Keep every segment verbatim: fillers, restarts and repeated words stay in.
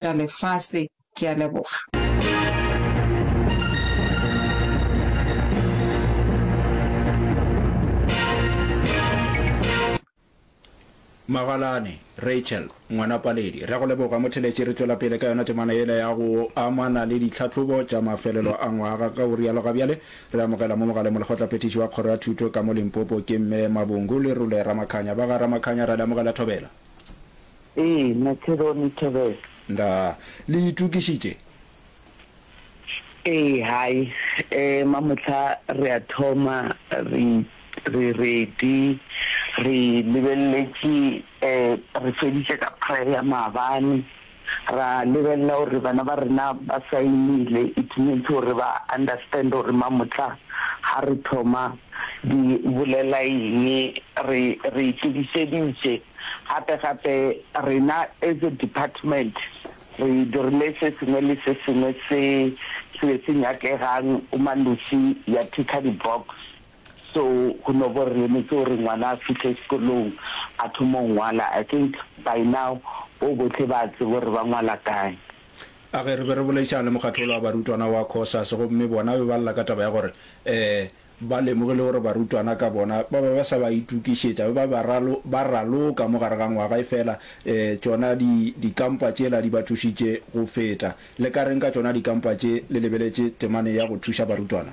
tša lefase. Ke a leboga. Magalane, Rachel, ngwana Paledi. Re a go leboga motheletši, re tšwela pele ka yona temana yela ya go amana le ditlhahlobo tša mafelelo a ngwaga. Ka go rialo ga bjale re amogela mo mogaleng molekgotlaphethiši wa Kgoro ya Thuto ka mo Limpopo ke Mme Mabungu Lerole Ramakhanya. Ba ga Ramakhanya ra le amogela Thobela. Ee, Materone Thobela. Ndaa. Le itokišitše? Ee, hai. Eh, mamohla re a thoma, re, re ready, re lebeleletše, eh, re feditše ka prayer maabane, ra lebelela gore bana ba rena ba saenile, it means gore ba understand gore mamohla ha re thoma di bolela eng, re, re itokišeditše. Gape gape rena as a department re dirile se sengwe le se sengwe se se be se nyakegang Umalusi ya ticker di box so go no bo re emetse gore ngwana a fihle sekolong a thome go ngwala I think by now bo bohle ba tseba gore ba ngwala kae. A ge re be re boledišana le mokgatlo wola wa barutwana wa Cosas gomme bona be ba lla ka taba ya gore um Ba lemogile gore barutwana ka bona ba be ba sa ba itokišetša, ba be ba ba ba raloka mo gare ga ngwaga, efela tšona di, dikampa tšela di ba thušitše go feta. Le ka reng ka tšona dikampa tše le lebeletše temane ya go thuša barutwana?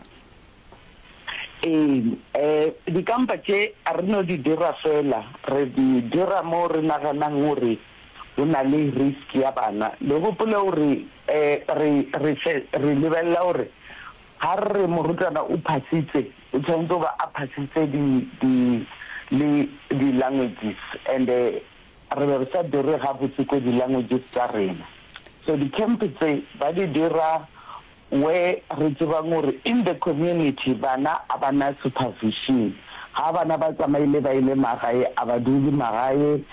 Ee, dikampa tše ga re no di dira fela, re di dira mo re naganang gore go na le risk ya bana. Le gopole gore re, re, re lebelela gore Ga re re morutwana o phasitse, o tshwanetse go ba a phasitse di, di, le di languages and re be re sa dire gabotse ko di languages tša rena. So di camp tse ba di dira where re tsebang gore in the community bana a ba na supervision. Ga bana ba tsamaile ba ile magae, a ba dule magae,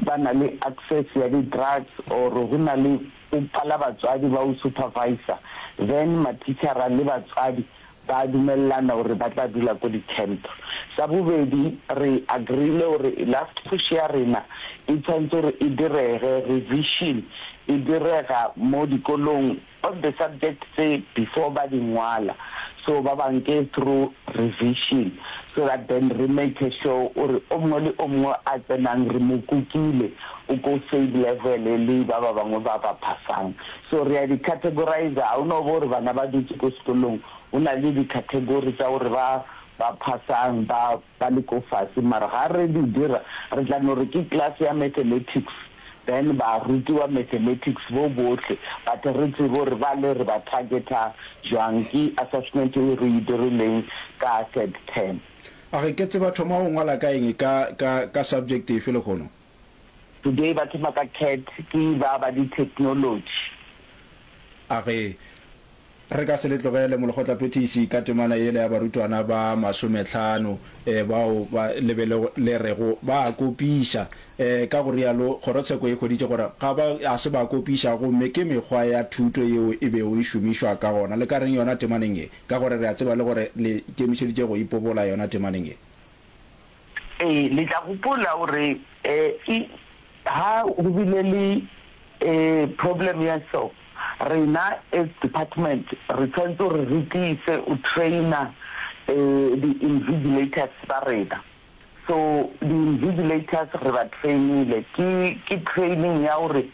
ba na le access ya di drugs or go na le O pala batswadi ba o supervisor then matitjhara le batswadi ba dumelelana gore ba tla dula ko di camp. Sa bobedi re agreele gore last push ya rena e tshwanetse gore e direge, revision e direga mo dikolong on the subject tse before ba di ngwala so ba ba nke through revision so that then re make sure ore o mongwe le o mongwe a tsenang re mo kukile o ko same level le ba ba bangwe ba ba phasang. So re a di categorizer, ga o no ba gore bana ba dutse ko sekolong, go na le di category tsa gore ba ba phasang ba ba le ko fase, mara ga re di dira re tla no re ke class ya mathematics then ba rutiwa mathematics bo bohle, but re tsebe gore ba le re ba targeta jwang, ke assessment e re e dirileng ka third term. A re ke tseba thoma go ngwala ka eng ka ka ka subject efe lehono? Today ba thoma ka cat ke ba ba di technology. A re, Re ka se le tlogele molekgotlaphethiši ka temana yela ya barutwana ba masomehlano bao ba le be le rego ba a kopiša. Ka go rialo, kgorotsheko e hweditše gore ga ba ga se ba kopiša gomme ke mekgwa ya thuto yeo e bego e šomišwa ka gona. Le ka reng yona temaneng ye? Ka gore re a tseba le gore le ikemišeditše go ipobola yona temaneng ye. Ee, le tla gopola gore e ha go bile le problem ya so, rena as department re tshwanetse gore re tiise o trainer di-invigilators ba rena. So di-invigilators re ba train-ile, ke ke training ya gore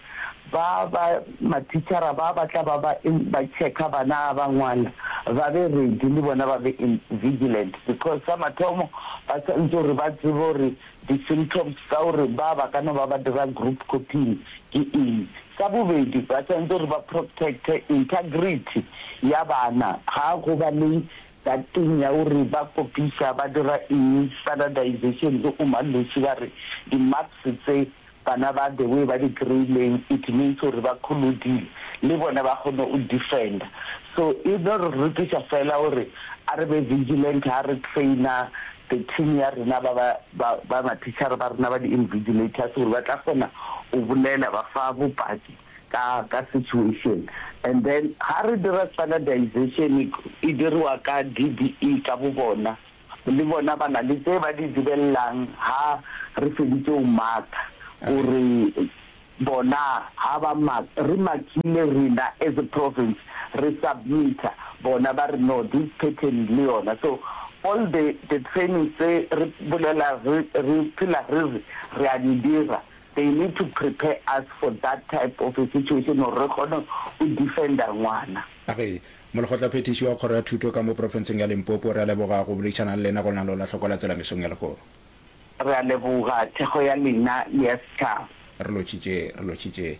ba ba matitjhara ba ba tla ba ba ba checker bana ha ba ngwala ba be ready le bona ba be in vigilant because sa mathomo ba tshwanetse gore ba tsebe gore di symptoms tsa gore ba ba ka no ba ba dira group copying ke eng. Sa bobedi ba tshwanetse gore ba protect-e integrity ya bana ha go ba le that thing ya gore ba kopiša ba dira eng standardization le Umalusi ba re di marks tse Bana ba the way ba di kry-ileng it means gore ba kholodile le bona ba kgone o defender so e no re rutiša fela gore a re be vigilant ha re trainer the team ya rena ba ba ba ba matitjhere ba rena ba di invigilators gore ba tla kgona o bolela ba fa bopaki ka ka situation and then ha re dira standardization e diriwa ka D B E ka bo bona. Le bona ba na le tse ba di dibelelang ha re feditse ho marka hore Bona ha ba mark, re markile rena as a province, re submita, bona ba re no, this pattern le yona. So all the the trainings tse re bolela re re phela re re re a di dira, they need to prepare us for that type of a situation gore re kgone go defender ngwana. A re, Molekgotlaphethiši wa Kgoro ya Thuto ka mo profenseng ya Limpopo, re a leboga go boledišana le lena go lenaneo la Hloko la Tsela mesong ya lehono. Re a leboga thekgo ya lena le ya setšhaba. Re lotšhitše, re lotšhitše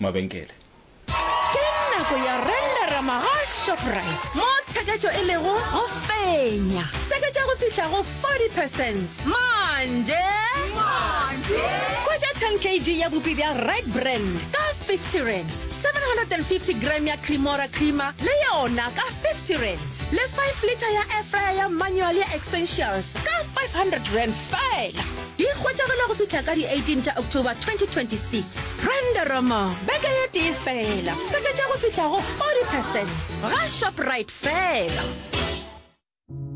mabenkele. Ke nako ya Renderama ga Shoprite, mo tsheketšo e lego go fenya. Seketša go fihla go forty percent manje. Hwetša ten kg ya bupi bja Red Brand ka fifty rand, seven hundred and fifty gram ya Cremora creamer le yona ka fifty rand, le five litre ya air fryer ya manual ya Essentials ka five hundred rand feela. Di hwetšagala go fihla ka di eighteen tša October twenty twenty six. Renderama beke ye tee feela, seketša go fihla go forty percent ga Shoprite feela.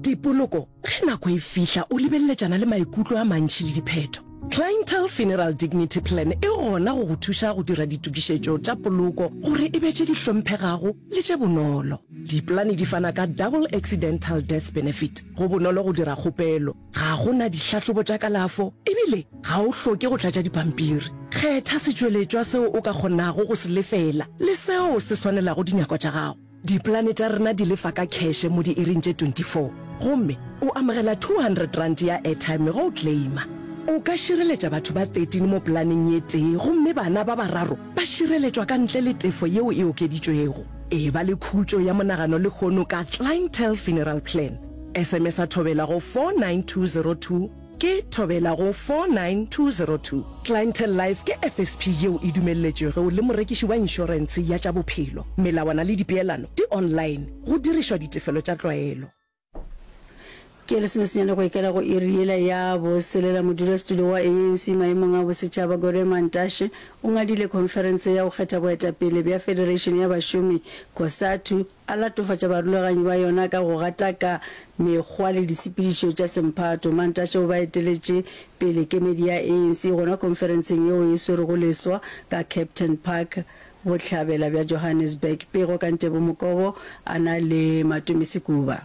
Dipoloko, Ge nako e fihla o lebeleletšana le maikutlo a mantši le diphetho. Clientele Funeral Dignity Plan e gona go go thuša go dira ditokišetšo tša poloko gore e be tše di hlomphegago le tše bonolo. Dipolane di fana ka Double Accidental Death Benefit. Go bonolo go dira kgopelo, ga go na dihlahlobo tša kalafo ebile ga o hloke go tlatša dipampiri. Kgetha setšweletšwa seo o ka kgonago go se lefela le seo se swanelago dinyakwa tša gago. Dipolane tša rena di lefa ka kheše mo diiring tše twenty four gomme o amogela two hundred rand ya airtime ge o claima. O ka šireletša batho ba thirteen mo polaneng ye tee gomme bana ba bararo ba šireletšwa ka ntle le tefo yeo e okeditšwego. Eba le khutšo ya monagano lehono ka Clientele Funeral Plan. S M S-a Thobela go four nine two zero two ke Thobela go four nine two zero two. Clientele Life ke F S P yeo e dumelletšwego le morekiši wa inšorentshe ya tša bophelo. Melawana le dipeelano di online go dirišwa ditefelo tša tlwaelo. Ke lesomesenyane go ikela go iri yela ya boselela, modulasetulo wa A N C maemong a bosetšhaba Gwede Mantashe o ngadile khonferense ya go kgetha boetapele bja Federation ya Bašomi, COSATU, a latofatša barulaganyi ba yona ka go gataka mekgwa le ditshepedišo tša semphato. Mantashe o ba eteletše pele kemedi ya A N C gona khonferenseng yeo e swerwego leswa ka Kempton Park, bohlabela bja Johannesburg. Pego ka Ntebo Mokobo a na le Matome Sekuba.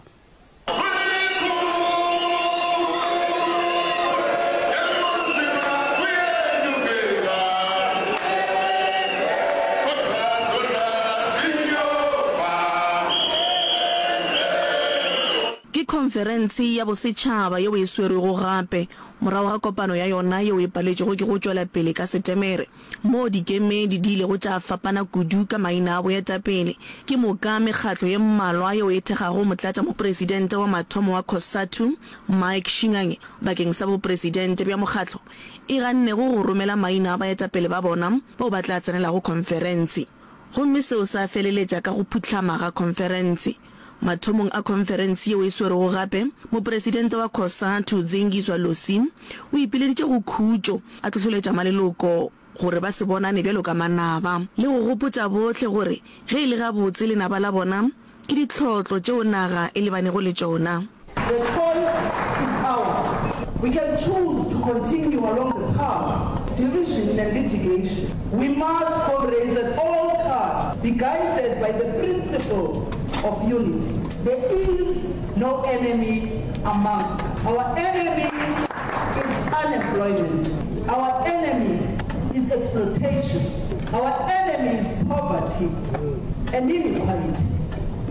Ke khonferense ya bosetšhaba yeo e swerwego gape morago ga kopano ya yona yeo e paletšwego ke go tšwela pele ka Setemere, moo dikemedi di ilego tša fapana kudu ka maina a boetapele. Ke moka mekgatlo ye mmalwa yeo e thekgago motlatšamopresidente wa mathomo wa COSATU, Mike Shingange, bakeng sa bopresidente bja mokgatlo, e gannego go romela maina a baetapele ba bona bao ba tla tsenelago khonferense. Gomme seo sa feleletša ka go phuhlama ga khonferense. Mathomong a khonferense yeo e swerwego gape, mopresidente wa COSATU, Zingiswa Losi, o ipileditše go khutšo, a hlohloletša maleloko gore ba se bonane bjalo ka manaba, le go gopotša bohle gore ge e le gabotse lenaba la bona ke ditlhotlo tšeo naga e lebanego le tšona. The choice is ours. We can choose to continue along the path division and litigation. We must, comrades, at all times be guided by the principle of unity. There is no enemy amongst us. Our enemy is unemployment. Our enemy is exploitation. Our enemy is poverty and inequality.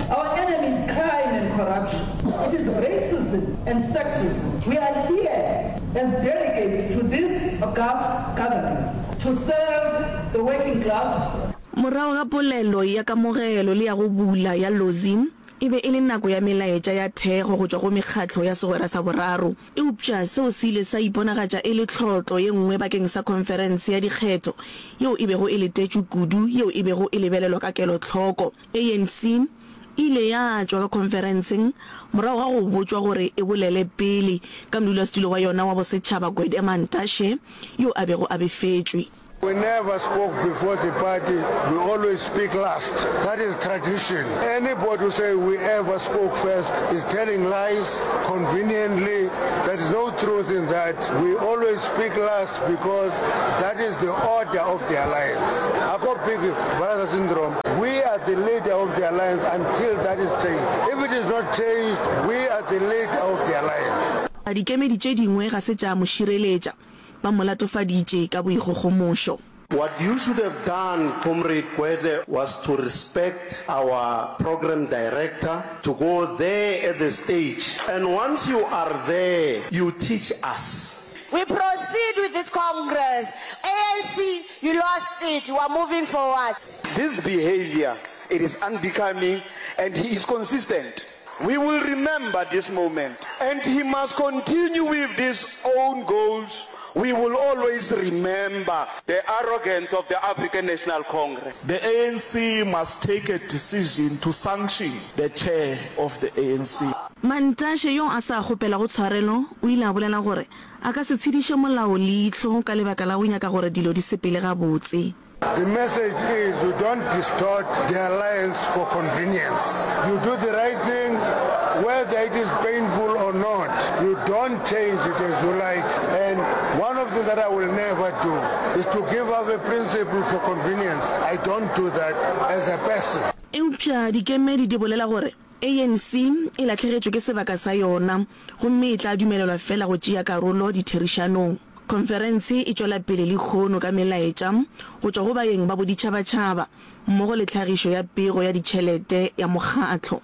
Our enemy is crime and corruption. It is racism and sexism. We are here as delegates to this august gathering to serve the working class. Morago ga polelo ya kamogelo le ya go bula ya Lozi, e be e le nako ya melaetša ya thekgo go tšwa go mekgatlo ya Segwera sa Boraro. Eupša seo se ile sa iponagatša e le tlhotlo ye nngwe bakeng sa khonferense ya dikgetho yeo e bego e letetšwe kudu yeo e bego e lebelelwa ka kelohloko. A N C e ile ya tšwa ka khonferenseng morago ga go botšwa gore e bolele pele ka modulasetulo wa yona wa bosetšhaba Gwede Mantashe yo a bego a befetšwe. We never spoke before the party, we always speak last. That is tradition. Anybody who say we ever spoke first is telling lies conveniently. There is no truth in that. We always speak last because that is the order of the alliance. Ako big brother syndrome. We are the leader of the alliance until that is changed. If it is not changed, we are the leader of the alliance. Dikemedi tše dingwe ga se tša mo šireletša, ba mo latofaditše ka boikgogomošo. What you should have done, Comrade Gwede, was to respect our program director, to go there at the stage. And once you are there, you teach us. We proceed with this Congress. A N C, you lost it. We are moving forward. This behaviour, it is unbecoming and he is consistent. We will remember this moment and he must continue with these own goals. We will always remember the arrogance of the African National Congress. The A N C must take a decision to sanction the chair of the A N C. Mantashe yo a sa kgopelago tshwarelo o ile a bolela gore a ka se tshediše molao leihlo ka lebaka la go nyaka gore dilo di sepele gabotse. The message is you don't distort the alliance for convenience. You do the right thing whether it is painful or not. You don't change it as you like. And one of the things that I will never do is to give up a principle for convenience. I don't do that as a person. Eupša dikemedi di bolela gore A N C e lahlegetšwe ke sebaka sa yona gomme e tla dumelelwa feela go tšea karolo ditherišanong. Khonferense e tšwela pele lehono ka melaetša go tšwa go baeng ba boditšhabatšhaba mmogo le tlhagišo ya pego ya ditšhelete ya mokgatlo.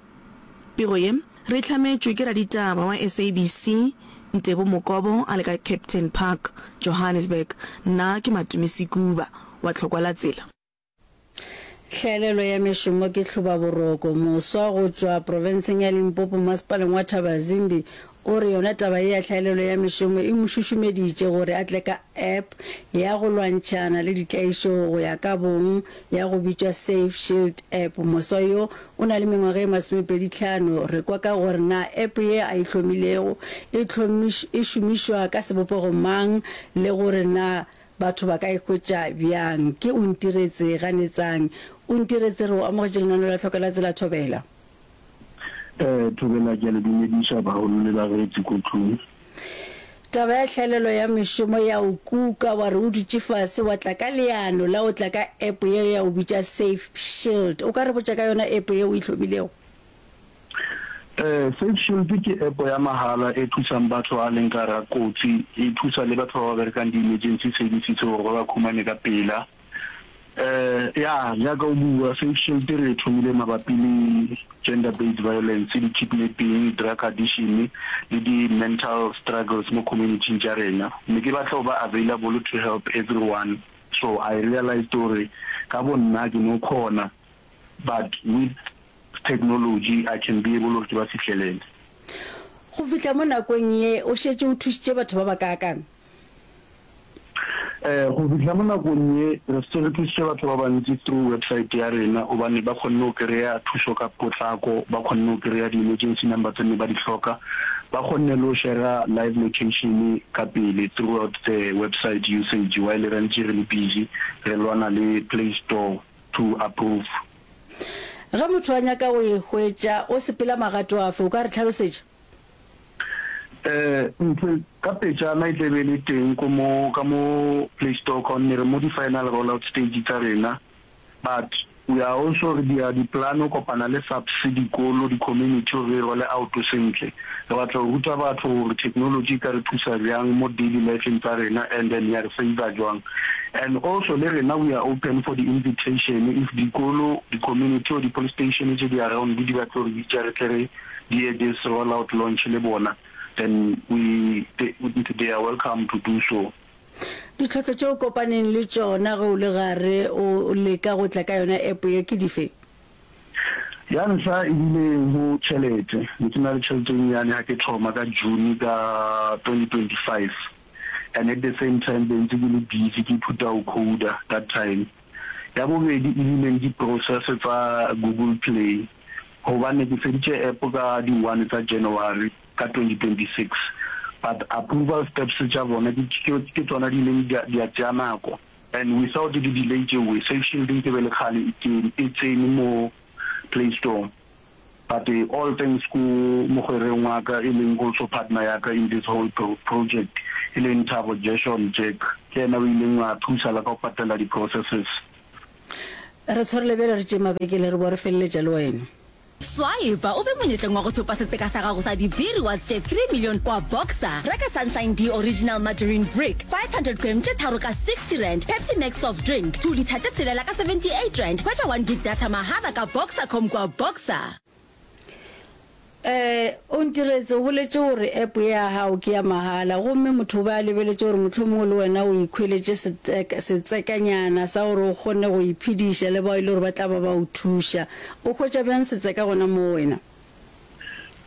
Pego ye re e hlametšwe ke raditaba wa S A B C Ntebo Mokobo a le ka Kempton Park, Johannesburg. Nna ke Matome Sekuba wa Tlhokwa la Tsela. Hlaelelo ya mešomo ke hlobaboroko. Moswa go tšwa profenseng ya Limpopo masepaleng wa Thabazimbi o re yona taba ye ya hlaelelo ya mešomo e mo šušumeditše gore a tle ka app ya go lwantšhana le ditlaišo go ya ka bong ya go bitšwa Safe Shield App. Moswa yo o na le mengwaga e masomepedi hlano. Re kwa ka gore na app ye a e hlomilego e e šomišwa ka sebopego mang le gore na batho ba ka e hwetša bjang. Ke Ontiretse Ganetsang. Ontiretse, re o amogetše lenaneo la Tlhoka la Tsela Thobela. Eh, Thobela, ke a le dumediša bagolo le bareetsi ko tlung. Taba ya tlhaelelo ya mešomo ya o kuka wa re o dutše fase wa tla ka leano la o tla ka app ye ya o bitša Safe Shield. O ka re botša ka yona app ye o e hlomilego? Eh, Safe Shield ke app ya mahala e thusang batho a leng ka hara kotsi, e thusa le batho ba ba berekang di-emergency services gore ba ba khumane ka pela. Eh, ya, jaaka o bua, Safe Shield re e thomile mabapi le gender based violence, di-kidnapping, drug addiction le di-mental struggles mo community tša rena. Ne ke batla go ba available to help everyone. So I realized gore ka bo nna ke no khona, but with technology I can be able gore ke ba fihlelele. Go fihla mo nakong ye o šetše o thušitše batho ba bakaakang? Eh, go fihla mo nakong ye re se re thusitše batho ba bantsi through website ya rena gobane ba kgonne go kry-a thuso ka potlako, ba kgonne go kry-a di-emergency number tse ne ba di hloka, ba kgonne le go share live location ka pele throughout the website usage while re ntse re le busy re lwana le Play Store to approve. Ge motho a nyaka go e hwetša o sepela magato afe? O ka re hlalosetša? Eh, ntho ka pejana e tlebe le teng ko mo ka mo Play Store ka gonne re mo di-final rollout stage tsa rena, but we are also re dia di-plan go kopana le SAPS, dikolo, di-community gore re roll out sentle. Re batla go ruta batho gore technology e ka re thusa bjang mo daily lifeng tsa rena and then ya re save jwang. And also le rena we are open for the invitation if dikolo, di-community or di-police station tse di around di batla gore bitsa re tle re die this rollout launch le bona, then we they, they are welcome to do so. Ditlhotlo tše o kopaneng le tšona ge o le gare o leka go tla ka yona app ye ke dife? Ya ntlha ebile go tšhelete. Ne ke na le tšhelete e nnyane ga ke thoma ka June ka twenty twenty-five, and at the same time be ntse ke le busy ke ithuta go coda that time. Ya bobedi ebile di-process tsa Google Play, gobane ke feditše app ka di-one tsa January ka twenty twenty-six, but approval steps tša bona ke tsona di ileng di a tšea nako. And without di delay tšeoe, Safe Shield nke be le kgale e kene, e tsene mo Play Store. But all thanks ko mogwereng wa ka e leng also partner ya ka in this whole project e leng Thabo Gershon Jack, ke yena o ileng a thusa la ka go patela di processes. Re tshwarele bjale re tšee mabekele re boa re feleletša le wena. Swipa o be monyetleng wa go thopa setseka sa gago sa di-B-Rewards tše three million kwa Boxer. Reka Sunshine D Original Margarine Brick five hundred gram tše tharo ka sixty rand, Pepsi Max Soft Drink two litre tše tshelela ka seventy eight rand. Hwetša one gig data mahala ka Boxercom kwa Boxer. Ee, Ontiretse o boletše gore app ye ya gago ke ya mahala gomme motho o be a lebeletše gore mohlomongwe le wena o ikhweletše setsekanyana sa gore o kgone go iphediša le bao e le gore ba tla ba ba o thuša. O hwetša bjang setseka gona moo wena?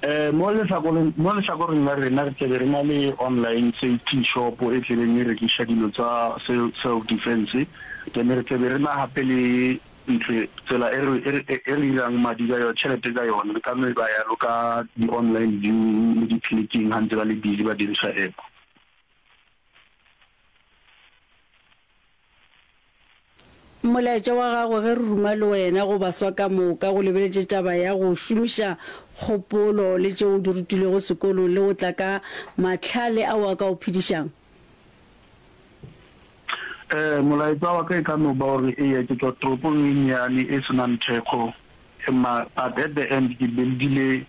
Ee, mo lehlakoreng, mo lehlakoreng la rena re tlebe re na le online safety shop e tlebeng e rekiša dilo tsa self defense, then re tlebe re na gape le Ntho e, tsela e re, e re, e re irang madi ka yona, tšhelete ka yona, re ka no e ba yalo ka di-online viewing le di-clicking ha ntse ba le busy ba diriša app. Molaetša wa gago ge re ruma le wena go baswa ka moka go lebeletše taba ya go šomiša kgopolo le tšeo o di rutilwego sekolong le go tla ka mahlale ao a ka o phedišang. Ee, molaetša wa ka e ka no ba gore, eya, ke tšwa toropong e nnyane e se nang thekgo, ma, but at the end ke build-ile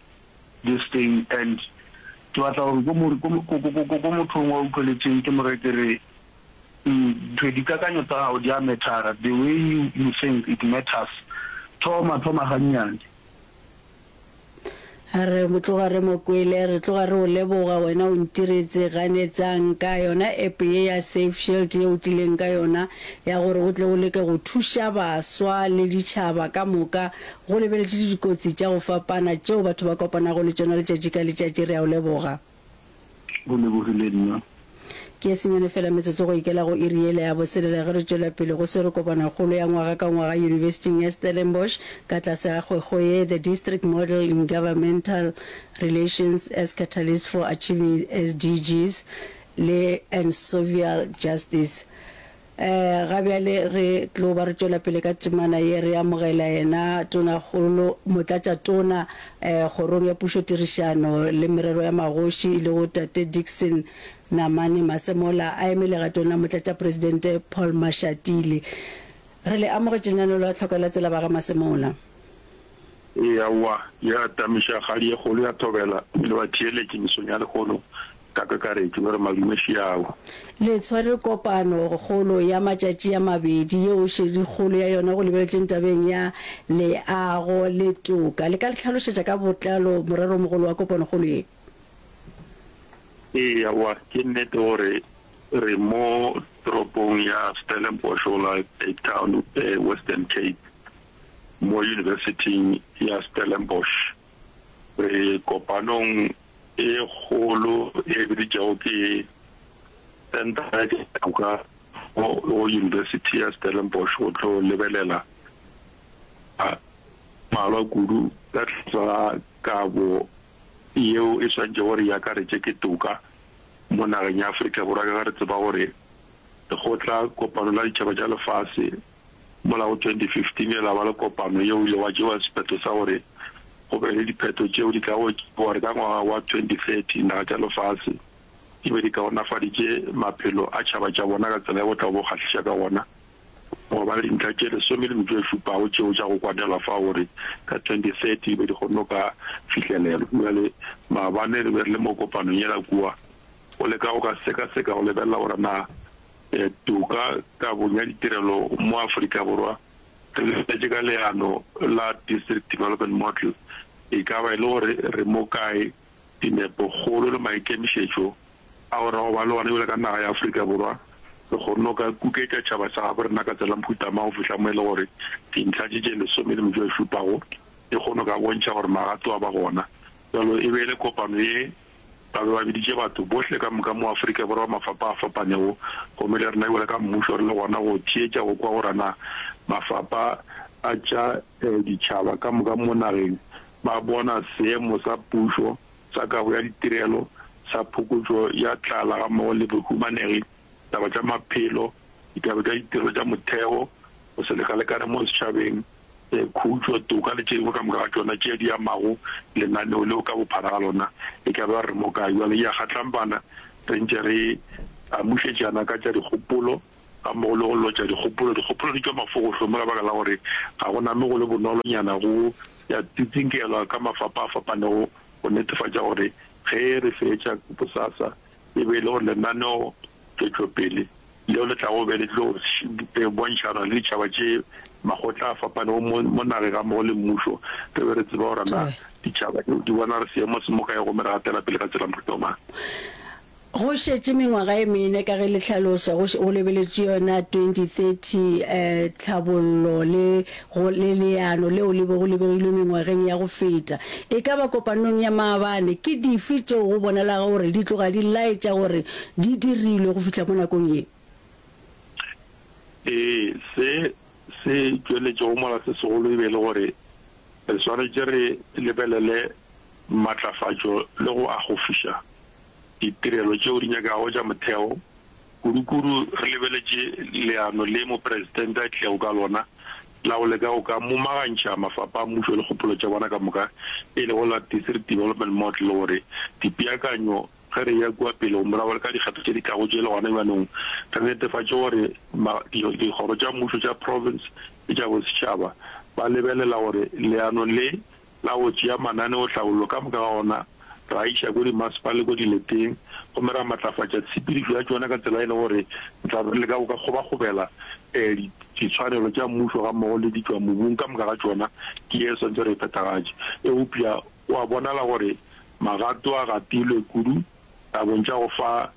this thing and ke batla gore ko mo, ko, ko, ko, ko, ko mothong wa utlweletšeng ke mo re ke re, ntho, dikakanyo tsa gago di a matter-a, the way you, you think it matters. Thoma, thoma gannyane. Re tloga re mo kwele, re tloga re o leboga wena o ntiretse ganetsang ka yona app ye ya Safe Shield ye o tlileng ka yona ya gore o tle o leke go thuša baswa le ditšhaba ka moka go lebeletše dikotsi tša go fapana tšeo batho ba kopanago le tšona letšatši ka letšatši. Re a o leboga. Go lebogile nna. Ke e senyane feela metsotso go ikela go iri yela ya boselela ge re tšwela pele go swere kopanokgolo ya ngwaga ka ngwaga Yunibesithing ya Stellenbosch ka tlase ga kgwekgwe ye The District Model in Governmental Relations as Catalyst for Achieving SDGs le and Sovial Justice. Ga bjale re tlo ba re tšwela pele ka temana ye, re amogela yena Tonakgolo, Motlatšatona Kgorong ya Pušotirišano le Merero ya Magoši e lego Tate Dickson Namane Masemola a eme legatong la Motlatšapresidente Paul Mashatile. Re le amogetše lenaneo la Tlhoko la Tsela ba ga Masemola. Ee, aowa, ya tamiša kgadi ye kgolo ya thobela le batheeletši mesong ya lehono ka kakaretšo, ba re madume šiao. Le tshwere kopano kgolo ya matšatši a mabedi yeo šedikgolo ya yona go lebeletšeng tabeng ya leago le toka. Le ka le hlalošetša ka botlalo moreromogolo wa kopanokgolo ye? Ee, aowa, ke nnete gore re mo toropong ya Stellenbosch go la Cape Town, Western Cape, mo Yunibesithing ya Stellenbosch. Re kopanong e kgolo e biditšego ke Senthara ya Toka go Yunibesithi ya Stellenbosch go tlo lebelela a mmalwa kudu ka tlase ga kabo yeo e swantšego gore e akaretše ke toka mo nageng ya Afrika Borwa ka ge re tseba gore Lekgotla Kopano la Ditšhaba tša Lefase Mola go twenty fifteen ile la ba le kopano yeo ile gwa tšewa sephetho sa gore go be le diphetho tšeo di tlago tšewa gore ka ngwaga wa twenty thirty naga tša lefase di be di kaonafaditše maphelo a tšhaba tša bona ka tsela ya go tla bo kgahliša ka gona gwa ba le dintlha tše lesome le metšo e šupago tšeo tša go kwanelwa fao gore ka twenty thirty di be di kgonne go ka fihlelelwa. Bjale maabane re be re le mo kopanong yela kua go leka go ka sekaseka go lebelela gore na Toka kabong ya ditirelo mo Afrika Borwa re lebeletše ka leano la District Development Model, e ka ba e le gore re mo kae, dinepo kgolo le maikemišetšo ao ra go ba le ona bjalo ka naga ya Afrika Borwa, re kgonne go ka kuketša tšhaba sa gabo rena ka tsela mohuta mang go fihla mo e le gore dintlha tše tše lesome le metšo e šupago di kgone go ka bontšha gore magato a ba gona. Bjalo e be e le kopano ye Ba be ba biditše batho bohle ka moka mo Afrika Borwa ba mafapa a fapanego, gomme le rena bjalo ka mmušo re le gona go theetša go kwa gore na mafapa a tša ditšhaba ka moka mo nageng ba bona seemo sa pušo sa kabo ya ditirelo, sa phokotšo ya tlala gammogo le bohumanegi, taba tša maphelo, Ditaba tša ditirelo tša motheo, go se lekalekane mo setšhabeng, khutšo, toka le tše dingwe ka moka ga tšona tše di amago lenaneo leo ka bophara ga lona, e ka ba re mo kae. Bjale e a kgatlampana re ntše re amušetšana ka tša dikgopolo gammogo le go lotša dikgopolo. Dikgopolo di tšwa mafogohlong mo ka baka la gore ga go name go le bonolonyana go ya tsitsinkelwa ka mafapa a fapanego go netefatša gore ge re fetša bosasa e be e le gore lenaneo tšwetšopele leo le tlago be le tlo bontšhana le ditšhaba tše makgotla a fapanego mo, mo nageng gammogo le mmušo, re be re tseba gore na ditšhaba tšeo di bona re seemo se mo kae gomme re gatela pele ka tsela mohuta mang. Go šetše mengwaga e mene ka ge le hlalosa go go lebeletšwe yona twenty thirty tlhabollo le go le leano leo le bego le begilwe mengwageng ya go feta. E ka ba kopanong ya maabane, ke dife tšeo go bonalago gore di tloga di laetša gore di dirilwe go fihla mo nakong ye? Ee, se se tšweletšego mola se segolo e be e le gore re swanetše re lebelele matlafatšo le go akgofiša ditirelo tšeo di nyakago tša motheo, kudu-kudu re lebeletše leano le Mopresidente a tlilego ka lona la go leka go ka momagantšha mafapa a mmušo le kgopolo tša bona ka moka, e lego la District Development Model, gore dipeakanyo ge re eya kua pele go morago le ka dikgetho tše di tlago tše le gona bjanong re netefatše gore dikgoro tša mmušo tša province le tša bosetšhaba ba lebelela gore leano le la go tšea mananeotlhabollo ka moka ga ona ra a iša ko dimasepala le ko dileteng gomme ra matlafatša tshepedišo ya tšona ka tsela e le gore re tla be re leka go ka kgobakgobela ditshwanelo tša mmušo gammogo le ditšwamobung ka moka ga tšona ke ye swantše re e phethagatše. Eupša go a bonala gore magato a gatilwe kudu tabeng tša go fa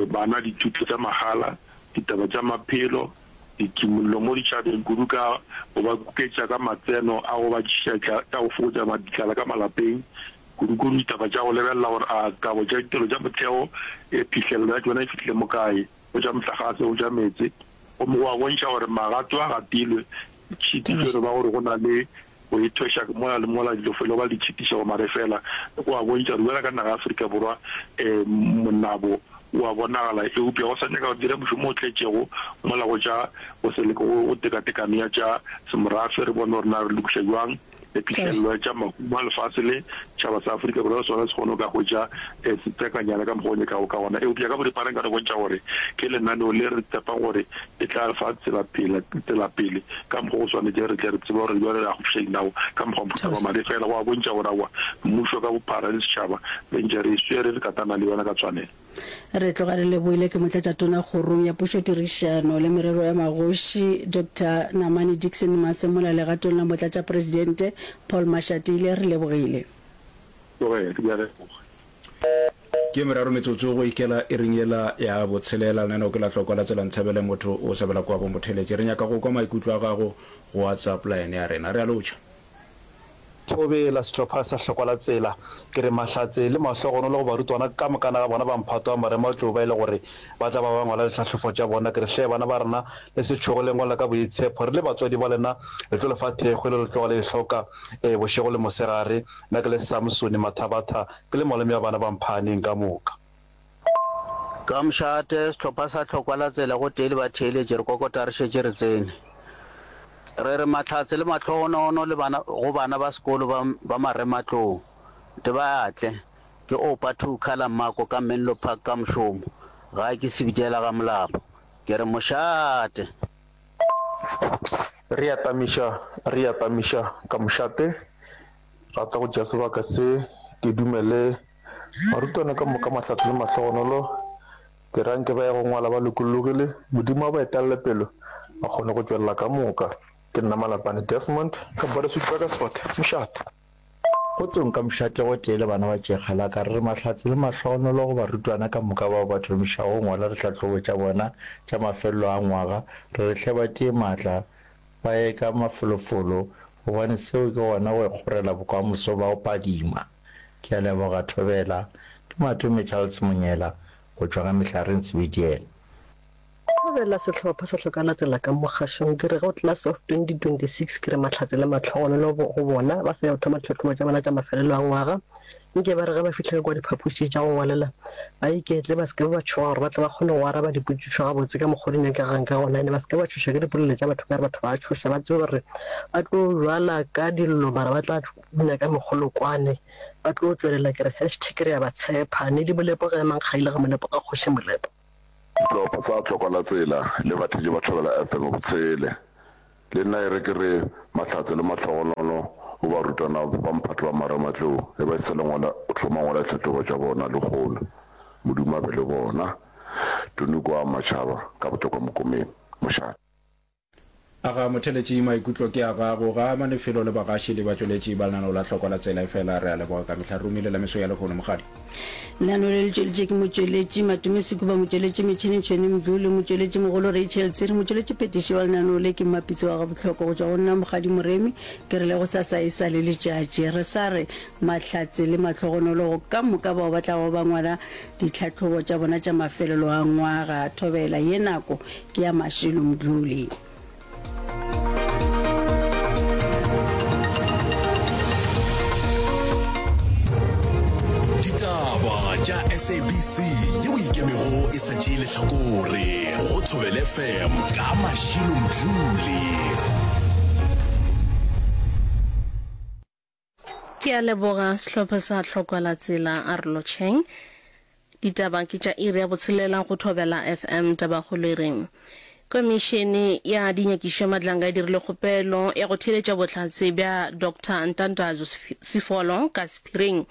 bana dithuto tša mahala, ditaba tša maphelo, dikimollo mo ditšhabeng kudu ka go ba kuketša ka matseno a go ba tšiša tša go fokotša ditlala ka malapeng, kudu-kudu ditaba tša go lebelela gore a kabo tša ditirelo tša motheo e phihlelelo ya tšona e fihlile mo kae, go tša mohlagase, go tša meetse, gomme go a bontšha gore magato a gatilwe, tšhitišo e no ba gore go na le go ithweša mola le mola dilo felo ba di tšhitišago mare fela go a bontšha gore bjalo ka naga ya Afrika Borwa monabo o a bonagala eupša go sa nyaka go dira mošomo o tletšego mola go tša go se go tekatekano ya tša semorafe re bone gore na re lokiša bjang phihlelelo ya tša mahumo a lefase le tšhaba sa Afrika Borwa le sona se kgone go ka hwetša setsekanyana ka mokgwa o nyakago ka gona. Eupša ka boripana nka no bontšha gore ke lenaneo le re tshepang gore le tla re fa tsela pele, tsela pele ka mokgwa go swanetše re tle re tsebe gore bjale re akgofiša dinao ka mokgwa wa mohuta wa madi. Fela go a bontšha gore aowa mmušo ka bophara le setšhaba re ntše re e swere re katana le yona ka tshwanelo. Re tloga re lebohile ke Motlatšatona Kgorong ya Pušotirišano le Merero ya Magoši, Doctor Namane Dickson Masemola legatong la Motlatšapresidente Paul Mashatile. Re lebogile. Tlogela, ke a leboga. Ke meraro metsotso go ikela iring yela ya botshelela. Lenaneo ke la Tlokwa la Tsela Nthabele motho o sebela kwa bo motheletše. Re nyaka go kwa maikutlo a gago go WhatsApp line ya rena. Re a lotšha. Thobela, sehlopha sa Hlokwa la Tsela. Ke re mahlatse le mahlogonolo go barutwana ka mokana ga bona ba mphato wa marematlou ba e le gore ba tla ba ba ngwala ditlhahlofo tša bona. Ke re hle bana ba rena le se tšhoge le ngwala ka boitshepho. Re le batswadi ba lena re tlo le fa thekgo e le le tloga le e hloka bošego le mosegare. Nna ke le Samsone Mathabatha ke le malome wa bana ba Mphaaneng ka moka. Ka mošate, sehlopha sa Hlokwa la Tsela gotee le batheeletši re kokota re šetše re tsene. Re re mahlatse le mahlogonono le bana go bana ba sekolo ba ba marematlou. Di ba atle. Ke Oupa Two Colour Mako ka Menlo Park ka mošomo. Gae ke Sebitela ga Molapo. Ke re mošate! Re atamiša, re atamiša ka mošate. Rata go tšea sebaka se ke dumele barutwana ka moka mahlatse le mahlogonolo. Ke ra nke ba ye go ngwala ba lokologile, Modimo a ba etelle pelo ba kgone go tšwelela ka moka. Ke nna Malapane Desmond ka Border Burgersfort, mošate. Kgotsong ka mošate gotee le bana ba Tšekgalaka, re re mahlatse le mahlogonolo go barutwana ka moka bao ba thomišago go ngwala dihlahlobo tša bona tša mafelelo a ngwaga. Re re hle ba tie maatla, ba ye ka mafolofolo gobane seo ke gona go ikgorela bokamoso ba go phadima. Ke a leboga Thobela. Ke Matome Charles Monyela go tšwa ga Mehlareng Sebediela. Thobela sehlopha sa Hlokana Tsela ka mo kgašong ke re go Class of twenty twenty six ke re mahlatse le mahlogonolo go bona ba sa ya go thoma dihlahlobo tša bona tša mafelelo a ngwaga. Nke ba re ge ba fihla ka kua diphapošing tša go ngwalela, ba iketle, ba se ke ba tšhoga gore ba tle ba kgone go araba dipotšišo gabotse ka mokgwa o di nyakegang ka gona, ene ba se ke ba tšhošwa ke dipolelo tša batho ka re batho ba a tšhoša, ba tsebe gore ba tlo bjala ka dillo mara ba tla bina ka mekgolokwane, ba tlo tšwelela. Ke re hashtag re a ba tshepa. Nedi Molepo ge emang kgaile ga Molepo ga Kgoši Molepo. Sehlopha sa Hlokwalatsela le batheetši ba Thobela F M botshele. Le nna e re ke re mahlatse le mahlogonolo go barutwana ba mphato wa marematlou ge ba sa le ngwala o thoma ngwala ditlhahlobo tša bona lehono. Modimo a be le bona. Tony kwa Matšhaba ka Botlokwa Mokomeng. Mošate. Aga motheletši maikutlo ke a gago ga a mane felo le bagaši le batšweletši ba lenaneo la Hlokwa la Tsela efela re a leboga ka mehla re romile la meso ya lehono Mokgadi. Lenaneo le le tšweletše ke motšweletši Matome Sekuba, motšweletši metšhene Tšhwene Mdluli, motšweletši mogolo Rachel Tsiri, motšweletši phetiši wa lenaneo le ke Mmapitsi wa Gabohloko. Go tšwa go nna Mokgadi Moremi ke re le gosasa e sa le letšatši. Re sa re mahlatse le mahlogonolo go ka moka bao ba tlago ba ngwala ditlhahlobo tša bona tša mafelelo a ngwaga. Thobela ye nako ke ya Mashilo Mdluli. Ditaba tša S A B C yeo ikemego e sa tšee lehlakore go Thobela F M ka Mashilo Mdluli. Ke a leboga sehlopha sa Tlhokwa la Tsela a re lotšheng. Ditaba ke tša iri ya botshelela go Thobela F M Tabakgolo e reng Komišene ya Dinyakišišo ya Madlanga e dirile kgopelo ya go theeletša bohlatse bja Doctor Ntandazo Sifolo ka sephiring.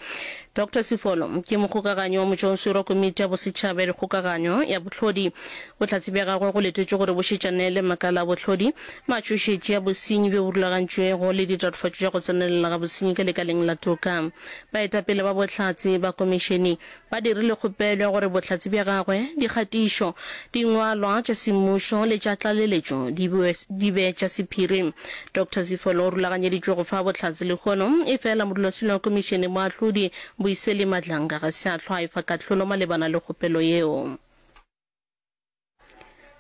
Doctor Sifolo ke mokgokaganyi wa motšwaoswere wa Komiti ya Bosetšhaba ya Dikgokaganyo ya Bohlodi. Bohlatse bja gagwe go letetšwe gore bo šetšane le makala a bohlodi, matšhošetši a bosenyi bjo bo rulagantšwego le ditatofatšo tša go tsenelela ga bosenyi ka lekaleng la toka. Baetapele ba bohlatse ba komišene ba dirile kgopelo ya gore bohlatse bja gagwe, dikgatišo, dingwalwa tša semmušo le tša tlaleletšo di di be tša sephiri. Doctor Sifolo o rulaganyeditšwe go fa bohlatse lehono, efela modulasetulo wa komišene moahlodi Mbuyiseli Madlanga ga se a hlwa a efa kahlolo malebana le kgopelo yeo.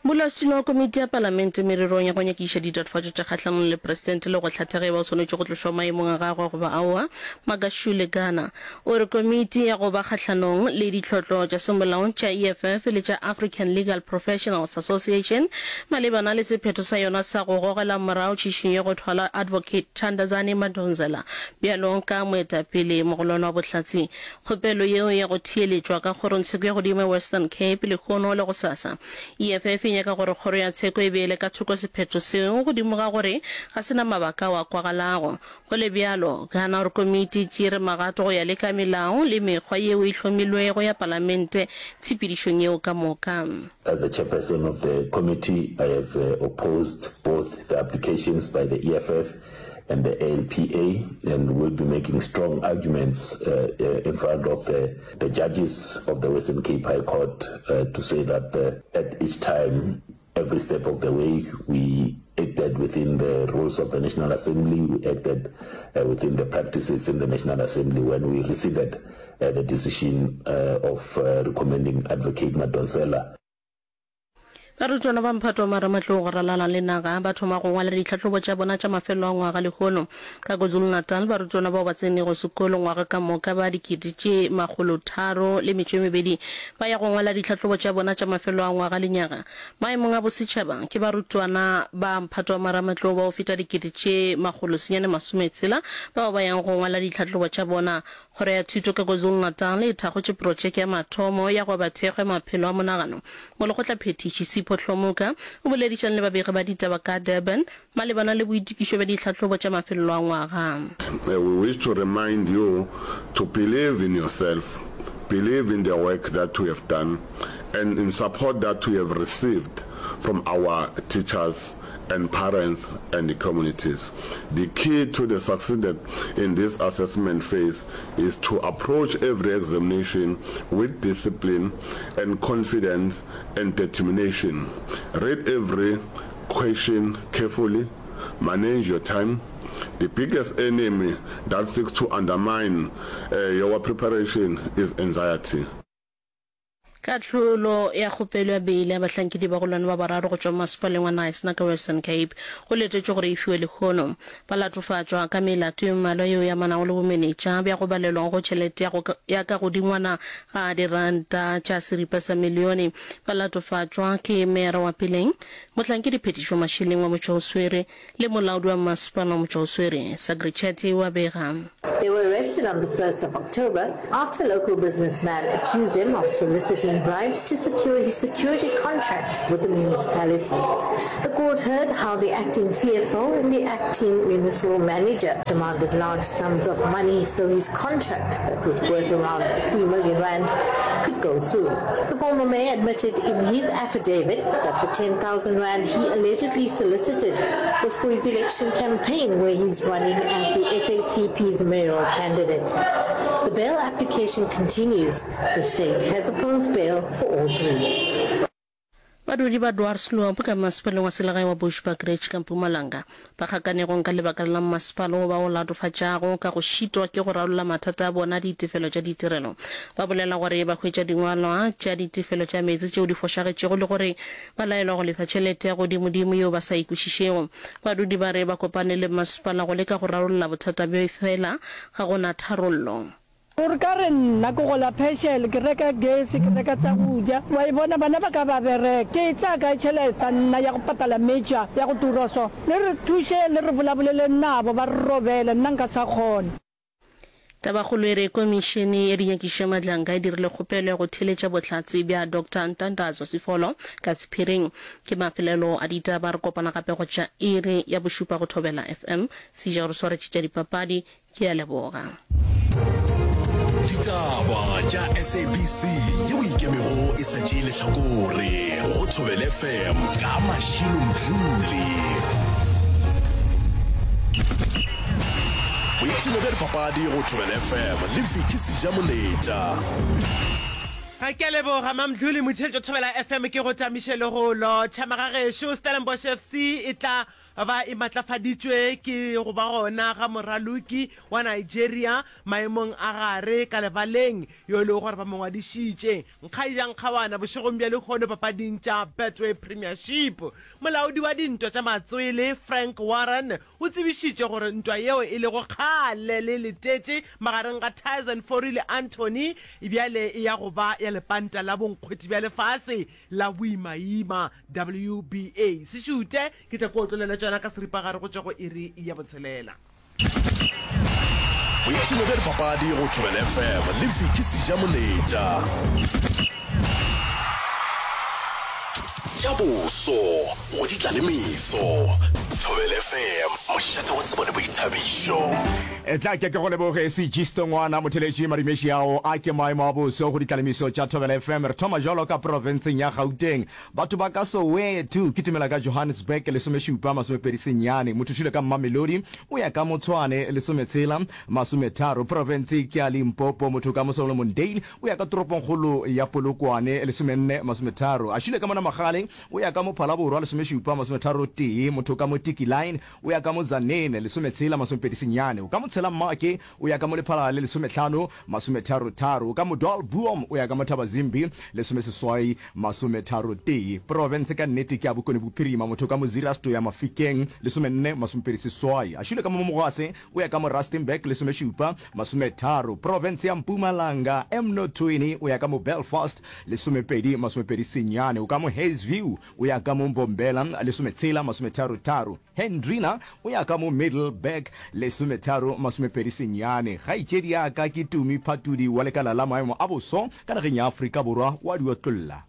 Modulasetulo wa komiti ya palamente mererong ya go nyakišiša ditatofatšo tša kgahlanong le presidente le go hlatha ge e ba o swanetše go tlošwa maemong a gagwe goba aowa, Magashule Gana, o re komiti ya go ba kgahlanong le ditlhotlo tša semolao tša E F F le tša African Legal Professionals Association malebana le sephetho sa yona sa go gogela morago tšhišinyo ya go thwala Advocate Thandazani Madonsela bjalo ka moetapele mogolwane wa bohlatse. Kgopelo yeo ya go theeletšwa ka kgorongtsheko ya godimo ya Western Cape lehono le gosasa. E F F e nyaka gore kgoro ya tsheko e beele ka thoko sephetho seo godimo ga gore ga se na mabaka ao a kwagalago. Go le bjalo, gana gore komiti e tšeere magato go ya le ka melao le mekgwa yeo e hlomilwego ya palamente tshepedišong yeo ka moka. As the chairperson of the committee, I have opposed both the applications by the E F F and the A L P A and will be making strong arguments in front of the, the judges of the Western Cape High Court uh, to say that uh, at each time, every step of the way, we acted within the rules of the National Assembly, we acted uh, within the practices in the National Assembly when we rescinded uh, the decision uh, of uh, recommending Advocate Madonsela. Barutwana ba mphato wa marematlou go ralala le naga ba thoma go ngwala ditlhahlobo tša bona tša mafelelo a ngwaga lehono. Ka KwaZulu-Natal, barutwana bao ba tsenego sekolo ngwaga ka moka ba dikete tše makgolo tharo le metšo e mebedi ba ya go ngwala ditlhahlobo tša bona tša mafelelo a ngwaga lenyaga. Maemong a bosetšhaba, ke barutwana ba mphato wa marematlou ba go feta dikete tše makgolo senyane masome tshela bao ba yang go ngwala ditlhahlobo tša bona. Kgoro ya Thuto ka KwaZulu-Natal e thakgotše protšeke ya mathomo ya go aba thekgo ya maphelo a monagano. Molekgotlaphethiši Sipho Hlomuka o boledišane le babegi ba ditaba ka Durban malebana le boitokišo bja ditlhahlobo tša mafelelo a ngwaga. We wish to remind you to believe in yourself, believe in the work that we have done and in support that we have received from our teachers and parents and the communities. The key to the succeeded in this assessment phase is to approach every examination with discipline and confidence and determination. Read every question carefully, manage your time. The biggest enemy that seeks to undermine uh, your preparation is anxiety. Kahlolo ya kgopelo ya beile ya bahlankedi bagolwane ba bararo go tšwa mmasepaleng wa Knysna ka Western Cape go letetšwe gore e fiwe lehono. Ba latofatšwa ka melato ye mmalwa yeo e amanago le bomenetša bja go balelwa go tšhelete ya go ya ka godingwana ga diranta tša seripa sa milione. Ba latofatšwa ke meyara wa peleng, mohlankedi phetišo mašeleng wa motšwaoswere le molaodi wa mmasepala wa motšwaoswere, Sagri Chetty o a bega. They were arrested on the first of October after a local businessman accused them of soliciting bribes to secure his security contract with the municipality. The court heard how the acting C F O and the acting municipal manager demanded large sums of money so his contract, that was worth around three million rand, could go through. The former mayor admitted in his affidavit that the ten thousand rand he allegedly solicited was for his election campaign, where he's running as the S A C P's mayoral candidate. The bail application continues. The state has opposed bail for all three. Badudi ba Dwarsloop ka masepaleng wa selegae wa Bushbuckridge ka Mpumalanga ba kgakanegong ka lebaka la mmasepala wo ba o latofatšago ka go šitwa ke go rarolla mathata a bona a ditefelo tša ditirelo. Ba bolela gore ba hwetša dingwalwa tša ditefelo tša meetse tšeo di fošagetšego le gore ba laelwa go lefa tšhelete ya godimodimo yeo ba sa e kwešišego. Badudi ba re ba kopane le mmasepala go leka go rarolla bothata bjo efela ga go na tharollo. Gore ka re nna ke gola phešele, ke reka gesi, ke reka tsa go ja. Wa e bona, bana ba ka ba bereka. Ke e tsaya kae tšheleta nna ya go patala metša ya go tura so? Le re thuše, le re bolaboleleng nabo, ba re robele, nna nka sa kgona. Tabakgolo e re Komišene ya Dinyakišišo ya Madlanka e dirile kgopelo ya go theeletša bohlatse bja Doctor Ntandazo Sifolo ka sephiring. Ke mafelelo a ditaba, re kopana gape go tša iri ya bošupa go Thobela F M. Seja o re swaretše tša dipapadi. Ke a leboga. Ditaba tša S A B C yeo e ikemego e sa tšee lehlakore go Thobela F M ka Mashilo Mdluli. Boipshino bja dipapadi go Thobela F M le Vicky Sejamoletša. Ga ke a leboga Mamdluli Motheletšo Thobela F M ke go tamiše le go lotšha magagešo. Stellenbosch F C e tla ba e matlafaditšwe ke go ba gona ga moraloki wa Nigeria maemong a gare ka lebaleng yo e lego gore ba mo ngwadišitše Nkgaija Nkgawana bošegong bja lehono papading tša Betway Premiership. Molaodi wa dintwa tša matswele Frank Warren o tsebišitše gore ntwa yeo e lego kgale le letetše magareng ga Tyson Fury le Anthony bjale e ya go ba ya lepanta la bonkgwete bja lefase la boimaima W B A. Se šute, ke tla ko otlolela tšona ka seripagare go tšwa go iri ya botshelela. Boipshino bja dipapadi go Thobela F M le Vicky Sejamoletša. Tša boso go di tla le meso. Thobela F M, mošate wa tsebo le boithabišo. Etla ke ke go leboge Sejisto ngwana motheletši Marimeši ao a ke maemo a boso go ditlalemiso tša Thobela F M. Re thoma jwalo ka profenseng ya Gauteng. Batho ba ka Soweto, kitimela ka Johannesburg, lesomešupa, masomepedi senyane. Mothušile ka Mamelodi, o ya ka Motshwane, lesometshela, masometharo. Profense ke ya Limpopo, motho ka mo Solomondale, o ya ka toropongkgolo ya Polokwane, lesomenne, masometharo. Ašile ka mo Namagale, o ya ka mo Phalaborwa, lesomešupa, masometharo tee. Motho ka mo Tiki Line, o ya ka mo Tzaneen, lesometshela, masomepedi senyane. O ka mo Tshela Mmake, o ya ka mo Lephalale, lesomehlano, masometharo tharo. O ka mo Dwaalboom, o ya ka mo Thabazimbi, lesomeseswai, masometharo tee. Profense ka nnete ke ya Bokone Bophirima, motho ka mo Zeerust o ya Mafikeng, lesomenne, masomepedi seswai. Ašile ka mo Mogwase, o ya ka mo Rustenburg, lesomešupa, masometharo. Profense ya Mpumalanga, Emnothweni, o ya ka mo Belfast, lesomepedi, masomepedi senyane. O ka mo Hazyview, o ya ka mo Mbombela, lesometshela, masometharo tharo. Hendrina o ya ka mo Middelburg, lesometharo, masomepedi senyane. Kgaetšedi ya ka ke Tumi Phatudi wa lekala la maemo a boso ka nageng ya Afrika Borwa, wa di otlolla.